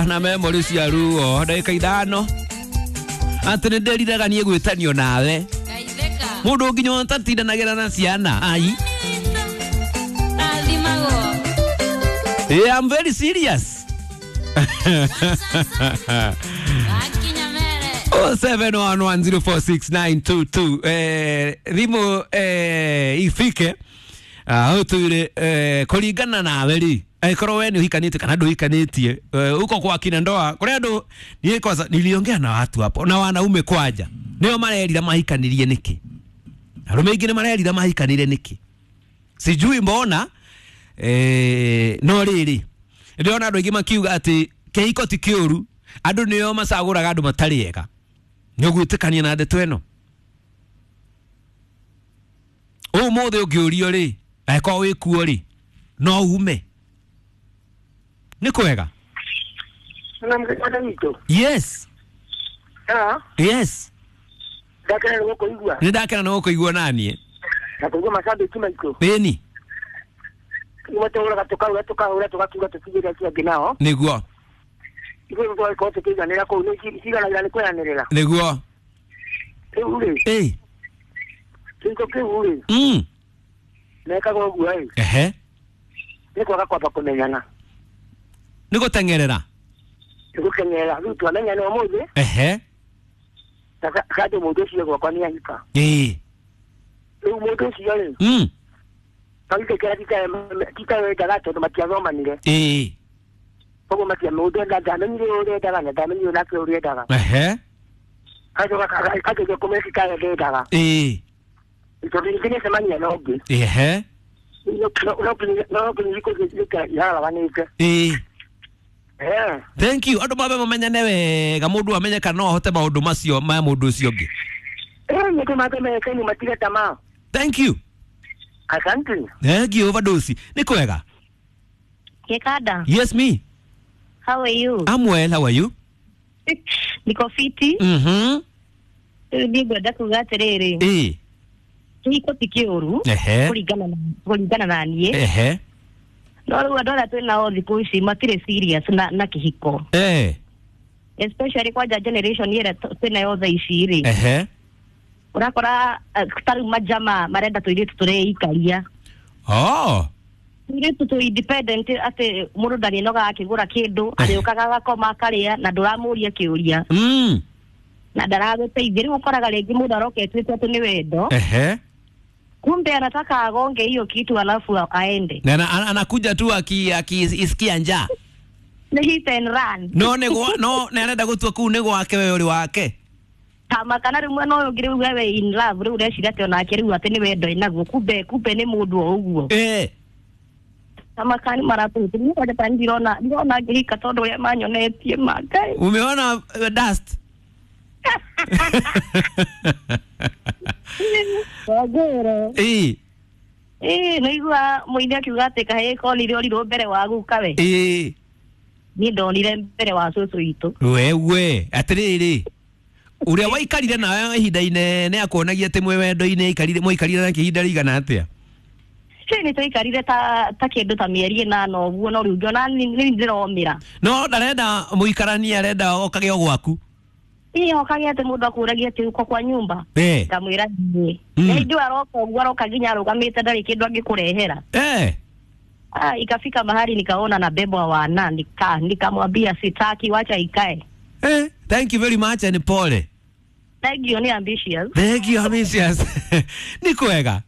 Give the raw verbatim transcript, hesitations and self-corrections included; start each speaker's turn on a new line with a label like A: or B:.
A: Na memory cia ruo ndagĩka ithano atĩ nĩ ndĩriraga niĩ gwĩtanio nawe mũndũ nginya ũtatindanagĩra na ciana ai. Yeah, I'm very serious. Oh seven one one zero four six nine two two. Eh, thimũ eh, ifike uh, ũtwĩre eh, kũringana nawe rĩ angĩkorwo we nĩ ũhikanĩtie kana ndũhikanĩtie huko kwa kina ndoa kũrĩa andũ niĩ kwanza niliongea na watu hapo na wanaume kwanja nĩo marerira mahikanirie nĩkĩ, arũme aingĩ nĩ marerira mahikanire nĩkĩ, sijui mbona eh, no rĩrĩ ndĩrona andũ aingĩ makiuga atĩ kĩhiko ti kĩũru, andũ nĩo macagũraga andũ matarĩ ega. Nĩ ũgwĩtĩkania na ndeto ĩno? Ũmũthĩ ũngĩũrio rĩ angĩkorwo wĩkuo rĩ no ume nĩ kwega? Yes. Yes. Nĩ ndakena nĩ gũkũigua naniĩ.
B: Na kũigua macambĩki maitũ.
A: Ĩni.
B: Tũhũraga tũkahũra tũkahũra tũgakiuga tũtigĩre acio angĩ nao.
A: Nĩguo.
B: Ithuĩ tũgagĩkorwo tũkĩiganĩra kũu nĩ ciganagĩra nĩ kweranĩrĩra.
A: Nĩguo.
B: Rĩu rĩ.
A: Ĩ.
B: Kĩhiko kĩu rĩ.
A: Mm.
B: Mekaga ũguo ĩ.
A: Ehe.
B: Nĩ kwaga kwamba kũmenyana.
A: Nĩ gũteng'erera.
B: Nĩ gũteng'erera. Rĩu twamenyana ũmũthĩ.
A: Ehe.
B: Na kandũ mũndũ ũcio gwakwa nĩ ahika.
A: Ĩ.
B: Rĩu mũndũ ũcio rĩ.
A: Mm.
B: Tagĩkĩra titawendaga tondũ matiathomanire.
A: Ĩ.
B: Koguo matia mũndũ enda ndamenyire ũrĩa endaga na ndamenyire nake ũrĩa endaga.
A: Ehe.
B: Kageria kũmenya titawe ndendaga.
A: Ĩ.
B: Tondũ ningĩ nĩacemania na ũngĩ.
A: Ehe.
B: No nginya thikũ ici iharaganĩte.
A: Ĩ.
B: Eh.
A: Thank you. Andũ mambe mamenyane wega mũndũ amenye kana no ahote maũndũ macio ma mũndũ ũcio ũngĩ.
B: Eh, nĩ mambe mekaine matige tamaa.
A: Thank you.
B: Asante.
A: Thank you, overdose. Nĩ kwega?
C: Kekada.
A: Yes, me.
C: How are you?
A: I'm well, how are you?
C: Niko fiti.
A: Mhm.
C: Rĩu niĩ ngwenda kuga atĩrĩrĩ.
A: Ĩ.
C: Kĩhiko ti kĩũru.
A: Ehe.
C: Kũringana na kũringana na niĩ.
A: Ehe.
C: No rĩu andũ arĩa twĩ nao thikũ ici matirĩ serious na na kĩhiko.
A: Eh.
C: Especially kwanja generation ĩrĩa twĩ nayo thaa ici rĩ.
A: Ehe.
C: Ũrakora ta rĩu majama marenda tũirĩtu tũreikaria.
A: Oh.
C: Tũirĩtu tũ independent atĩ mũndũ ndarĩnogaga akĩgũra kĩndũ, arĩũkaga agakoma akarĩa na ndũramũria kĩũria.
A: Mm.
C: Na ndaragũteithia. Rĩu ũkoraga rĩngĩ mũndũ aroka etuĩte atĩ nĩ wendo.
A: Ehe.
C: Kumbe anataka agonge hiyo kitu alafu aende.
A: Na anakuja tu akisikia njaa.
C: Nĩ hit and run.
A: No nĩ no nĩ arenda gũtua kũu nĩ gwake we ũrĩ wake.
C: Kama kana rĩu mwena ũyũ ũngĩ rĩu wewe in love rĩu ũreciria atĩ onake rĩu atĩ nĩ wendo ĩnaguo, kumbe kumbe nĩ mũndũ o ũguo.
A: Eh.
C: Kama kani maratũ niĩ kwanja ta ndirona ndirona ngĩhika tondũ ũrĩa manyonetie ma Ngai.
A: Umeona uh, dust?
C: Wagĩre.
A: Ĩ.
C: Ĩ, nĩigua mũini akiuga atĩ kahĩĩ konire orirwo mbere wa guka we.
A: Ĩ.
C: Niĩ ndonire mbere wa cũcũ witũ.
A: Wewe, atĩrĩrĩ. Ũrĩa waikarire nawe ihinda inene akuonagia atĩ mwĩ wendo-inĩ aikarire mwaikarire nake ihinda rĩigana atĩa?
C: Ĩ, nĩ twaikarire ta ta kĩndũ ta mĩeri ĩnana ũguo, no rĩu ngĩona nĩ ndĩromĩra.
A: No ndarenda mũikaranie, arenda okage o gwaku.
C: Ĩ, okage atĩ mũndũ akũragia atĩ uko kwa nyumba.
A: Eh.
C: Ngamwĩra niĩ. Na hĩndĩ ĩyo aroka ũguo aroka nginya arũgamĩte ndarĩ kĩndũ angĩkũrehera.
A: Eh.
C: Ah, ikafika mahali nikaona na bebwa wana nika nikamwambia sitaki, wacha ikae.
A: Eh, thank you very much and pole.
C: Thank you, ni ambitious.
A: Thank you, ambitious. Nĩ kwega?